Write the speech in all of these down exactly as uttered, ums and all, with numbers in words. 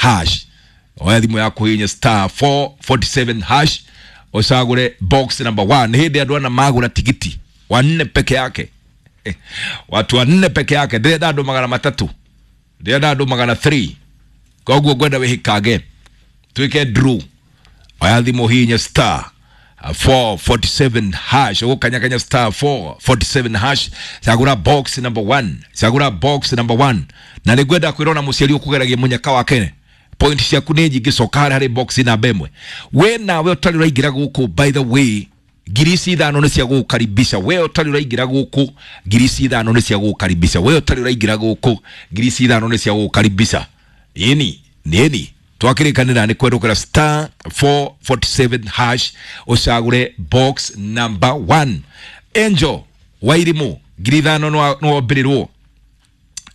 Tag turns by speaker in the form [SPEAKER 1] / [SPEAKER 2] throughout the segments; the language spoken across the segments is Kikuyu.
[SPEAKER 1] hash. Oya thimũ yaku hihinya star four forty-seven hash ũcagũre box number one. Nĩ hĩndĩ andũ ana magũra tigiti wanne peke yake, eh, watu wanne peke yake. Ndĩrenda andũ magana matatũ, ndĩrenda andũ magana three, koguo ngwenda wĩhĩkange twĩke draw. Oya thimũ hihinya star four forty-seven hash, ũgũkanyakanya star four forty-seven hash, cagũra box number one, cagũra box number one. Na nĩ ngwenda kwĩrwo na mũciari ũkũgeragia mũnyaka wake point ciaku nĩ nyingĩ, coka harĩa harĩ box namba ĩmwe. We nawe ũtarĩ ũraingĩra gũkũ, by the way, ngiri ici ithano nĩ cia gũgũkaribisha. We ũtarĩ ũraingĩra gũkũ, ngiri ici ithano nĩ cia gũgũkaribisha. We ũtarĩ ũraingĩra gũkũ, ngiri ici ithano nĩ cia gũgũkaribisha. Ĩni nĩni twakĩrĩkanĩra nĩ kwerũkĩra star four forty-seven hash ũcagũre box number one. Angel Wairimu ngiri ithano nĩwombĩrĩrwo.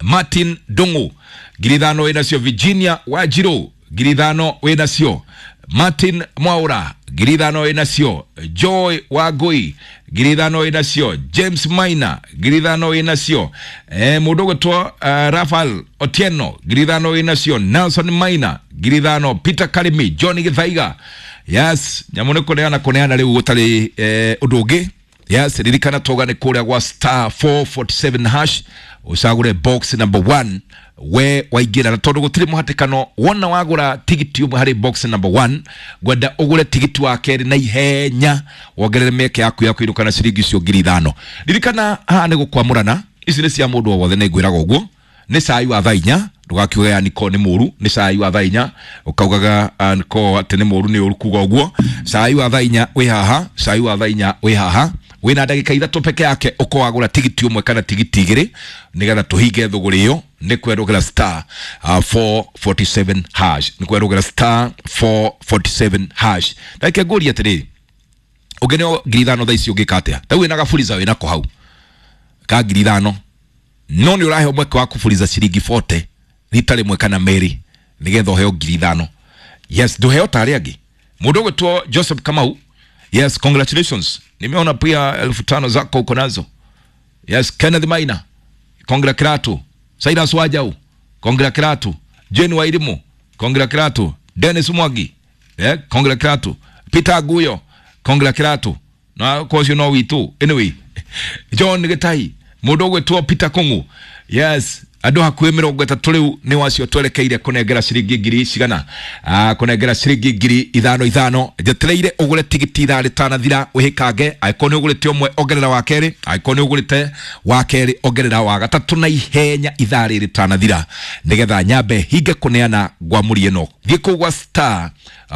[SPEAKER 1] Martin Dungu ngiri ithano wĩnacio. Virginia Wanjiru ngiri ithano wĩnacio. Martin Mwaura ngiri ithano wĩnacio. Joy Wangui ngiri ithano wĩnacio. James Maina ngiri ithano wĩnacio. Eh, mũndũ ũgwĩtwo uh, Rafael Otieno ngiri ithano wĩnacio. Nelson Maina ngiri ithano. Peter Karimi, John Githaiga. Yes, nyamũ nĩ kũneana kũneana rĩu gũtarĩ eh, ũndũ ũngĩ. Yes, ririkana toga nĩ kũrĩa gwa star four forty-seven hash ũcagũre box number one. We waingĩra na tondũ gũtirĩ mũhatĩkano, wona wagũra tigiti ũmwe harĩ box number one, ngwenda ũgũre tigiti wa kerĩ na ihenya wongerere mĩeke yaku ya kũinũka na ciringi icio ngiri ithano. Ririkana haha nĩ gũkwamũrana, ici nĩ cia mũndũ o wothe, nĩ ngwĩraga ũguo. Nĩ cai wa thaa inya, ndũgakiuge ya niko nĩ mũru, nĩ cai wa thaa inya ũkaugaga niko atĩ nĩ mũru, nĩ ũru kuga ũguo. Cai wa thaa inya wĩ haha, cai wa thaa inya wĩ haha, wĩna ndagĩka ithatũ peke yake ũkorwo wagũra tigiti ũmwe kana tigiti igĩrĩ nĩgetha tũhinge thũgũrĩ ĩyo. Nĩ kwerũgĩra star four forty-seven hash, nĩ kwerũgĩra star four forty-seven hash. Ndagĩka ngũrie atĩrĩrĩ, ũngĩneo ngiri ithano thaa ici ũngĩka atĩa? Ta wĩna gaburiza wĩnako hau ka ngiri ithano, no nĩ ũraheo mweke wa kũburiza ciringi forty rita rĩmwe kana merĩ nĩgetha ũheo ngiri ithano. Yes, ndũheo ta arĩa angĩ. Mũndũ ũgwĩtwo Joseph Kamau, yes, congratulations, nimeona pia elfu tano zako uko nazo. Yes, Kenneth Maina, congratulations. Cyrus Wajau, congratulations. Jane Wairimu, congratulations. Dennis Mwangi, yeah, congratulations. Peter Aguyo, congratulations. Na course you know we too. Anyway, John Gitai, mũndũ ũgwĩtwo Peter Kungu. Yes, andũ hakuhĩ mĩrongo ĩtatũ rĩu nĩ wacio twerekeire kũnengera ciringi ngiri cigana, ah, kũnengera ciringi ngiri ithano ithano. Njetereire ũgũre tigiti ithaa rĩtanathira wĩhĩkange. Angĩkorwo nĩ ũgũrĩte ũmwe ongerera wa kerĩ, angĩkorwo nĩ ũgũrĩte wa kerĩ ongerera wa gatatũ na ihenya ithaa rĩrĩ rĩtanathira, nĩgetha nyambe hinge kũneana ngwamũri ĩno. Thiĩ kũu gwa star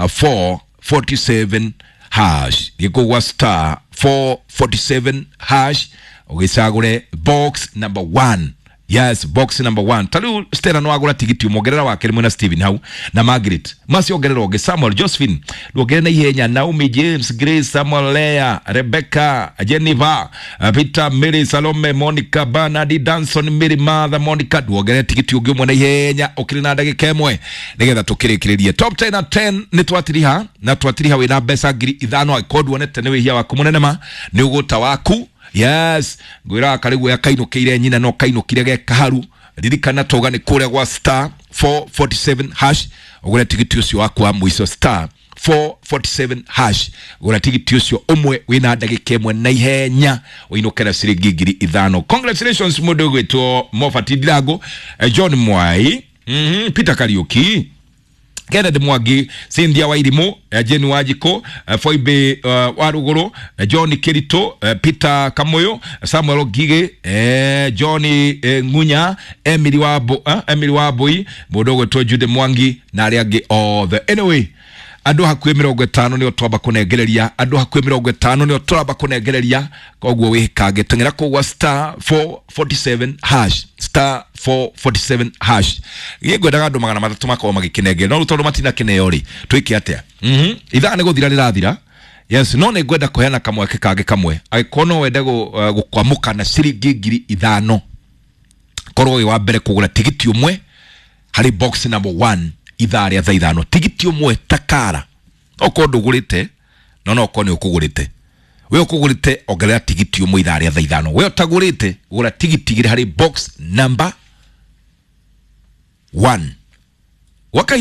[SPEAKER 1] four forty-seven hash, thiĩ kũu gwa star four forty-seven hash ũgĩcagũre box number one. Yes, box number one. Tariu Stella no agura tigiti umongerera wa kerĩ mwena Steven hau na Margaret. Masi ongerera ũngĩ Samuel, Josephine, ndwongerere na ihenya Naomi, James, Grace, Samuel, Lea, Rebecca, Jennifer, Peter, Mary, Salome, Monica, Bernard, Danson, Mary, Martha, Monica. Ndwongerere tigiti ũngĩ ũmwe na ihenya ũkĩrĩ na ndagĩka ĩmwe nĩgetha tũkĩrĩkĩrĩrie. Top ten na ten nĩ twatiriha na twatiriha wĩna mbeca ngiri ithano angĩkorwo nduonete nĩ wĩhia waku mũnene ma nĩ ũgũta waku. Yes, ngwĩraga karĩguo ya kainũkĩire nyina no kainũkire ge kaharu. Ririkana toga nĩ kũrĩa gwa star four forty-seven hash ũgũre tigiti ũcio waku wa mũico, star four forty-seven hash ũgũre tigiti ũcio ũmwe wĩna ndagĩka ĩmwe na ihenya ũinũke na ciringi ngiri ithano. Congratulations mũndũ ũgwĩtwo Mofati Ndirango, John Mwai, mm-hmm, Peter Kariuki, Kenneth Mwangi, Cynthia Wairimu, Jane Wanjiko, Foibe uh, Waruguru, John Kirito, Peter Kamoyo, Samuel Ngige, eh, John eh, Ngunya, Emily Wabo, eh, Emily Wabui, mũndũ ũgwĩtwo Jude Mwangi na arĩa angĩ othe. Anyway, andũ hakuhĩ mĩrongo ĩtano nĩo twamba kũnengereria, andũ hakuhĩ mĩrongo ĩtano nĩo tũramba kũnengereria, koguo wĩkange teng'era kũu gwa star four forty-seven hash, star four forty-seven hash. Niĩ ngwendaga andũ magana matatũ makorwo magĩkĩnengeria, no rĩu tondũ matinakĩneo rĩ, twĩke atĩa? Mhm, ithaa nĩ gũthira rĩrathira. Yes, no nĩ ngwenda kũheana kamweke kangĩ kamwe. Angĩkorwo no wende gũkwamũka na ciringi ngiri ithano, korwo wĩ wa mbere kũgũra tigiti ũmwe harĩ box number one ithaa rĩa thaa ithano, tigiti ũmwe takara. Okorwo ndũgũrĩte, no no okorwo nĩ ũkũgũrĩte, we ũkũgũrĩte ongerera tigiti ũmwe ithaa rĩa thaa ithano. We ũtagũrĩte gũra tigiti igĩrĩ harĩ box number one. Gwa kahinda